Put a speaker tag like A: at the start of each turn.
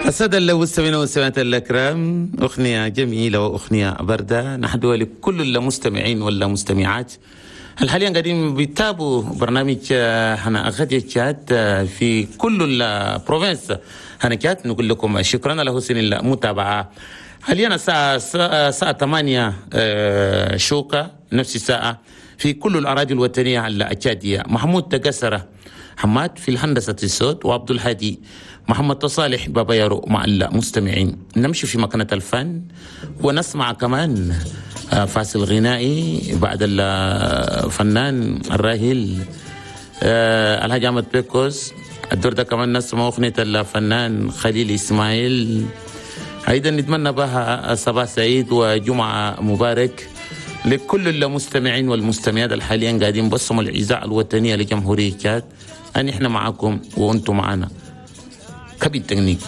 A: السادة المستمعين والمستمعات الأكرام، أغنية جميلة وأغنية باردة نهدوها لكل المستمعين والمستمعات حاليا قاعدين بيتابعوا برنامج هنا غادي تشاد في كل ال provinces هنا تشاد. نقول لكم شكرا على حسن المتابعة. حاليا الساعة 8 شوكة، نفس الساعة في كل الأراضي الوطنية التشادية. محمود تقسرة حماد في الهندسة الصوت، وعبد الهادي محمد صالح بابا يارو مع المستمعين. نمشي في مكانة الفن ونسمع كمان فاصل غنائي بعد الفنان الراحل الحاج أحمد بيكوس. الدور ده كمان نسمع أغنية الفنان خليل إسماعيل. أيضا نتمنى بها صباح سعيد وجمعة مبارك لكل المستمعين والمستمعات الحاليا قاعدين بسمعوا الإذاعة الوطنية لجمهورية تشاد. أن إحنا معكم وأنتم معنا. كبير تكنيك.